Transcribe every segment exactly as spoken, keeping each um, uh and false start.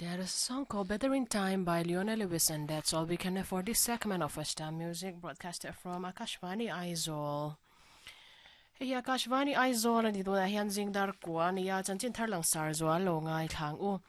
There is a song called Better in Time by Leona Lewis, and that's all we can afford this segment of First Time Music broadcasted from Akashvani Aizawl. Hei Akashvani Aizawl ani tuna hian zingdar kwa nia chanchin tharlang sar zual lo ngai thlang u.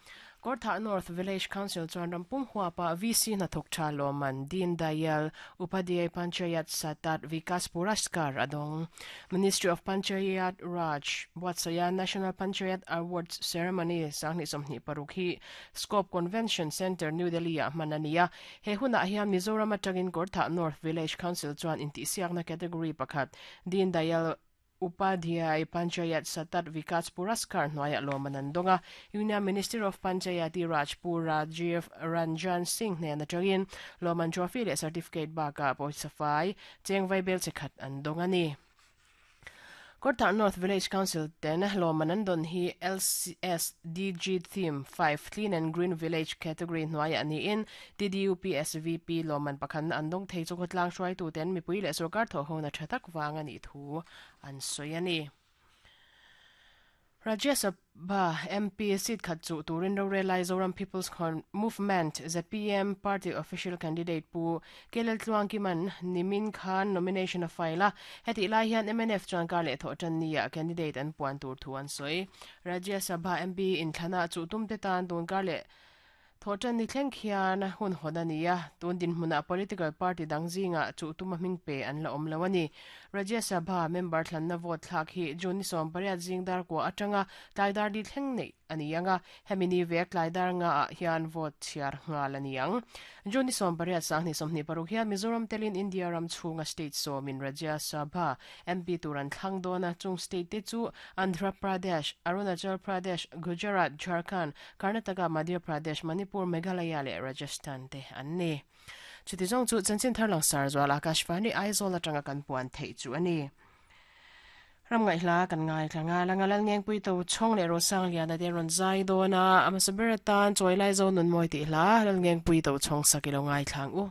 Kortha North Village Council chuan rampum huapa V C na thok tha loman Deen Dayal Upadhyay Panchayat Satat Vikas Puraskar adong. Ministry of Panchayat Raj Watsaya National Panchayat Awards Ceremony sangni somni parukhi Scope Convention Center New Delhi a manania he huna hian Mizoram atangin Kortha North Village Council chuan inti siakna category pakhat Deen Dayal Upadhyay Panchayat Satat Vikas Puraskar noya lomanandonga Union Minister of Panchayati Raj Pu Rajiv Ranjan Singh ne na tangin loman trophy le certificate baka poisafai chengvai bel chekhat andonga ni. Kortha North Village Council ten lomanandon hi L C S D G Theme five Clean and Green Village category noya ani in T D U P S V P loman pakhan andong thei chu khotlang hruai tu ten mipui le sarkar tho ho na thatak wanga ni thu an soyani. Rajya Sabha M P seat khat chu turin ro relai Zoram People's Movement Z P M party official candidate pu Kelel Tluang Kiman Nimin Khan nomination of file heti lai hian M N F chuan kar le tho tan nia candidate an puan tur thu an soi. Rajya Sabha M P in thana chu tum te tan tun kar le tho tan ni thleng khian hun hodania tun din hmuna political party dangzinga chu tuma hming pe an la om lawani. Rajya Sabha member thlanna vote thlak hi June som pariat zingdar ko atanga tlaidar di thleng nei anianga hemini vek tlaidar nga hian vote chiar ngal aniang. June som pariat sangni somni paruk hian Mizoram telin India ram chunga state somin Rajya Sabha M P turan thlangdona chung state te chu Andhra Pradesh, Arunachal Pradesh, Gujarat, Jharkhand, Karnataka, Madhya Pradesh, Manipur, Meghalaya le Rajasthan te anni. Chuti zong chu chanchin tharlang sar zual Akashvani Aizawl atanga kan puan thei chu ani. Ram ngai hla kan ngai thlanga langa lal ngeng pui to chong le ro sang lian ate ron zai dona ama saberatan choi lai zo nun moi ti hla lal ngeng pui to chong sakilo ngai thlang u.